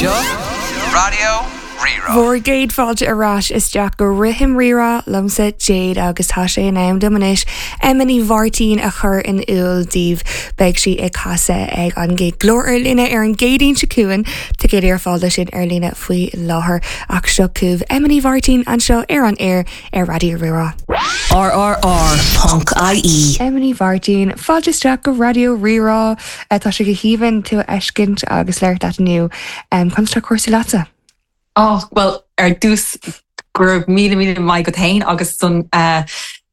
Seo Raidió Rí-Rá. Bhur gcéad fáilte ar ais isteach go Rithim Rí-Rá liomsa Jade agus tá sé in am dom anois Emma Ní Mháirtín a chur in iúl daoibh. Beidh sí ag casadh ag an gig Glór ar Líne ar an gCéadaoin seo chugainn. Ticéidí ar fáil dó sin ar líne faoi láthair. Ach seo chugaibh Emma Ní Mháirtín anseo ar an aer ar Raidió Rí-Rá. RRR.ie. Emma Ní Mháirtín, fáilte isteach go Raidió Rí-Rá. Tá sé go haoibhinn tú a fheiscint agus labhairt leat inniu. Conas tá cúrsaí leatsa? Oh, bhuel, ar dtús, go raibh míle míle maith agat féin agus don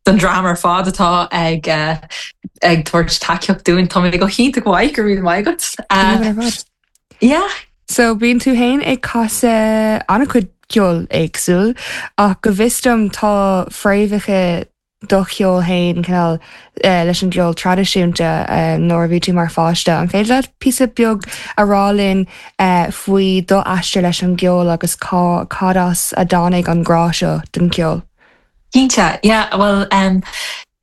don dream ar fad atá ag ag tabhairt tacaíocht dúinn. Tá mé go hiontach mhaith, go raibh míle maith agat. Go haoibhinn ar fad. Yeah. So, bíonn tú féin ag casadh an-chuid ceol éagsúil ach go bhfios dom tá fréamhacha do cheol féin cineál leis an gceol traidisiúnta nuair a bhí tú mar pháiste. An féidir leat píosa beag a rá linn faoi do aistear leis an gceol agus cá cad as a dtáinig an grá seo don cheol? Cinnte, yeah, bhuel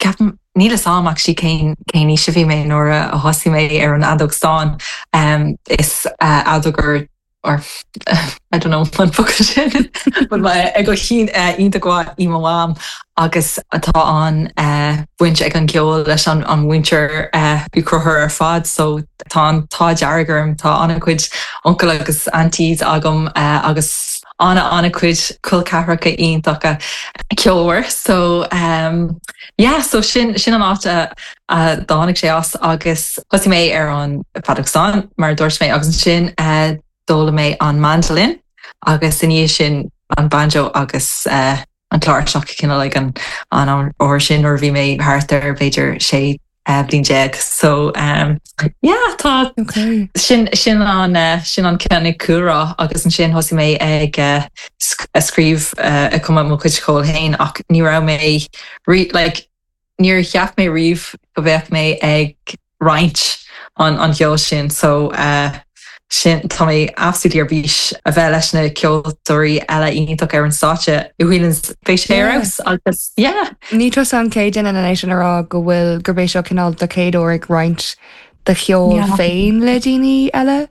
ceapaim, níl 'fhios a'm actually cén cén aois a bhí mé nuair a thosaigh mé ar an fheadóg stáin. Is fheadógóir or I don't know an focal sin but fheadógaí iontach mhaith í mo mham agus tá an baint ag an gceol leis an an mhuintir Uí Chonchúir ar fad so tá an t-ádh dearg orm tá an-chuid uncail agus aunties agam agus ana an-chuid col ceathracha iontacha ceolmhar so yeah so sin sin an áit a a dtáinig sé as agus thosaigh mé ar an bhfeadóg stáin mar a dúirt mé agus ansin d'fhoghlaim mé an mandolin agus i ndiaidh sin an banjo agus an chláirseach cineál ag an an uair sin nuair a bhí mé thart ar b'fhéidir 16 bhliain. So yeah tá sin sin an sin an cineál cúlra agus ansin thosaigh mé ag scríobh ag cumadh mo chuid ceoil féin ach ní raibh mé like Níor cheap mé riamh go bheadh mé ag roinnt an an cheoil sin so sin tá mé absolutely ar bís a bheith leis na ceoltóirí eile iontach ar an stáitse i Whelan's beidh sé ar fheabhas agus yeah. Ní tusa an chéad duine anois a rá go bhfuil gurb é seo cineál do chéad uair ag roinnt do cheol féin le daoine eile.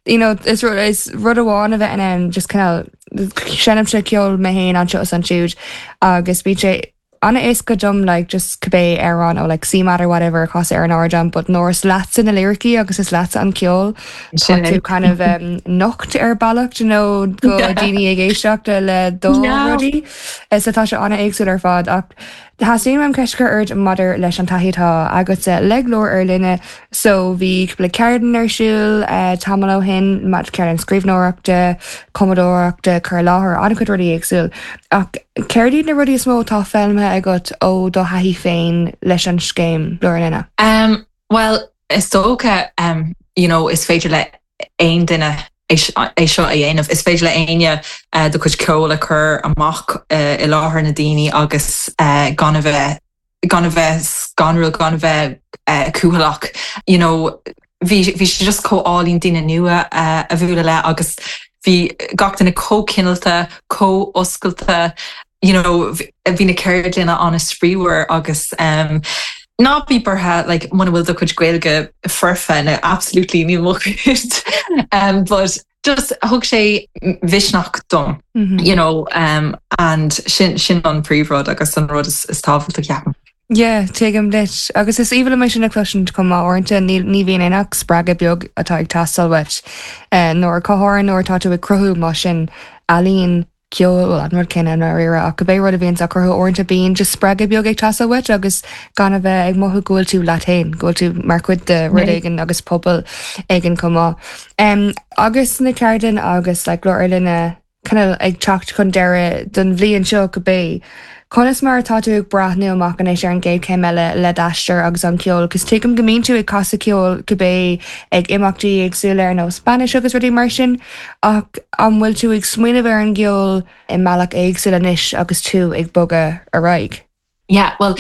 You know, is rud is rud amháin a bheith in ann just cineál seinnimse ceol mé féin anseo is ansiúd agus bíonn sé an-éasca dom like just cibé amhrán ó like CMAT or whatever a chasadh ar an ardán but nuair is leatsa na liricí agus is leatsa an ceol tá tú kind of um, nocht ar bealach you know go daoine ag éisteacht le do rudaí so tá sé an-éagsúil ar fad ach theastaigh uaim ceist a chur ort maidir leis an taithí atá agatsa le Glór ar Line So bhí cúpla ceardlann ar siúl tamall ó shin, ceardlann scríbhneoireachta, cumadóireachta, cur i láthair, an-chuid rudaí éagsúil. Ach céard iad na rudaí is mó atá foghlamtha agat ó do thaithí féin leis an scéim Glór ar Line? Um, bhuel, is dócha, um, you know, is féidir le aon duine é seo a dhéanamh. Is féidir le éinne uh, do chuid ceoil a chur amach uh, i láthair na daoine agus uh, gan a bheith gan a bheith scanrúil, gan a bheith cúthaileach, you know, bhí bhí sé just chomh álainn daoine nua a bhualadh le agus bhí gach duine chomh cineálta, chomh oscailte, you know, bhí na ceardlanna an-spraíúil agus um, ná bí buartha like, muna bhfuil do chuid Gaeilge foirfe, no, absolutely níl mo chuid um, but just thug sé misneach dom, you know, um, and sin, sin an príomhrud agus an rud is, is tábhachtaí ceapaim. Yeah, tuigim duit. Agus is aoibhinn liom é sin a chloisint chomh maith uaireanta ní, ní bhíonn aon ach spreagadh beag atá ag teastáil uait. Uh, nuair go háirithe nuair atá tú ag cruthú mar sin ealaín ceol, bhuel, an rud céanna i ndáiríre, ach cibé rud a bhíonns á cruthú uaireanta bíonn just spreagadh beag ag teastáil uait agus gan a bheith ag mothú go bhfuil tú leat féin, go bhfuil tú mar chuid de rud éigin agus pobal éigin chomh maith. Um, agus na ceardlanna agus like, Glór ar Line kind of ag teacht chun deireadh don bhliain seo cibé. Conas mar atá tú ag breathnú amach anois ar an gcéad chéim eile le d'aistear agus an ceol? Cos tuigim go mbíonn tú ag casadh ceoil cibé ag imeachtaí éagsúla ar nós bainis agus rudaí mar sin, ach an bhfuil tú ag smaoineamh ar an gceol i mbealach éagsúil anois agus tú ag bogadh ar aghaidh? Yeah, well,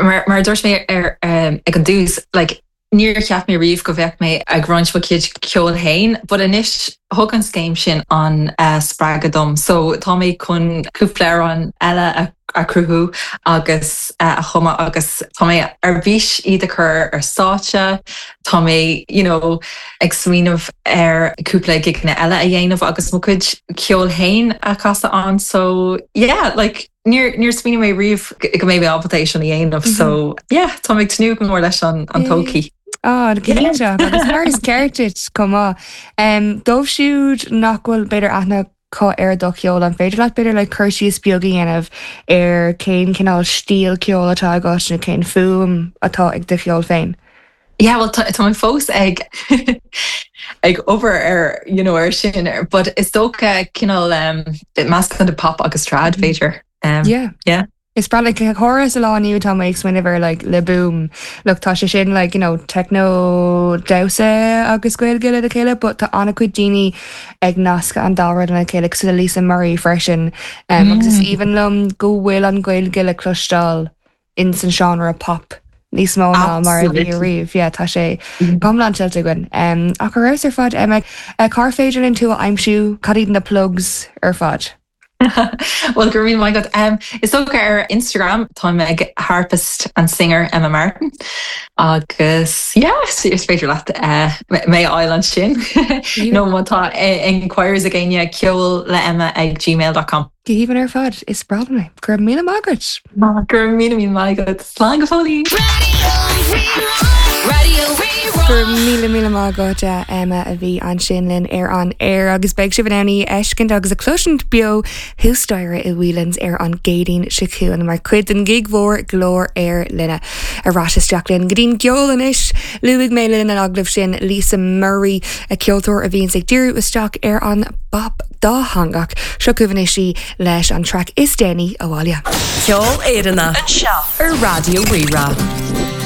mar, mar a dúirt mé ar, um, ag an dtús, like, Níor cheap mé riamh go bheadh mé ag roinnt mo chuid ceoil féin, but anois thug an scéim sin an spreagadh dom so tá mé chun cúpla amhrán eile a a chruthú agus a chumadh agus tá mé ar bís iad a chur ar stáitse, tá mé you know ag smaoineamh ar cúpla gigeanna eile a dhéanamh agus mo chuid ceoil féin a chasadh ann so yeah like níor níor smaoinigh mé riamh go mbeidh mé ábalta é sin a dhéanamh so yeah tá mé ag tnúth go mór leis an an todhchaí. Ah, cinnte agus mar is ceart duit chomh maith. Um, dóibh siúd nach bhfuil b'fhéidir aithne acu ar do cheol, an féidir leat b'fhéidir like cur síos beag a dhéanamh ar cén cineál stíl ceoil atá agat nó cén fuaim atá ag do cheol féin? Yeah, well tá mé fós ag ag obair ar you know ar sin but is dócha cineál um, meascán de pop agus trad b'fhéidir. Um, yeah. Yeah. Is breá like chóras sa lá inniu tá mé ag smaoineamh ar like Le Boom. Look tá sé sin like you know techno damhsa agus Gaeilge le chéile but tá an-chuid daoine ag nascadh an dá rud lena chéile cosúil le Lisa Murray freisin um, agus is aoibhinn liom go bhfuil an Ghaeilge le cloisteáil in san genre pop níos mó ná mar a bhí riamh. Yeah, tá sé go hiomlán tuillte againn. Um, ach ar fheabhas ar fad Emma, uh, cár féidir linn tú a aimsiú cad iad na plugs ar fad? Well go raibh míle maith agat. Um, is dócha ar Instagram táim ag harpist and singer Emma Martin agus yeah, is féidir leat uh, mé a fháil ansin nó má tá inquiries ag éinne ceol le Emma ag gmail.com. Go haoibhinn ar fad, is breá liom é. Go raibh míle maith agat! Go raibh míle míle maith agat. Slán go fóillín! Go raibh míle míle maith agat Emma a bhí ansin linn ar an aer agus beidh sibh in ann í a fheiscint agus a chloisint beo thuas staighre i Whelan's ar an gCéadaoin seo chugainn mar chuid den ghig mhór Glór ar Line. Ar ais isteach linn go dtí'n gceol anois! Luaigh mé le linn an agallaimh sin Lisa Murray, ceoltóir a bhíonns ag díriú isteach ar an bpop dátheangach. Seo chugaibh anois í leis an traic is déanaí, Abhaile. Ceol Éireannach. Anseo ar Raidió Rí-Rá.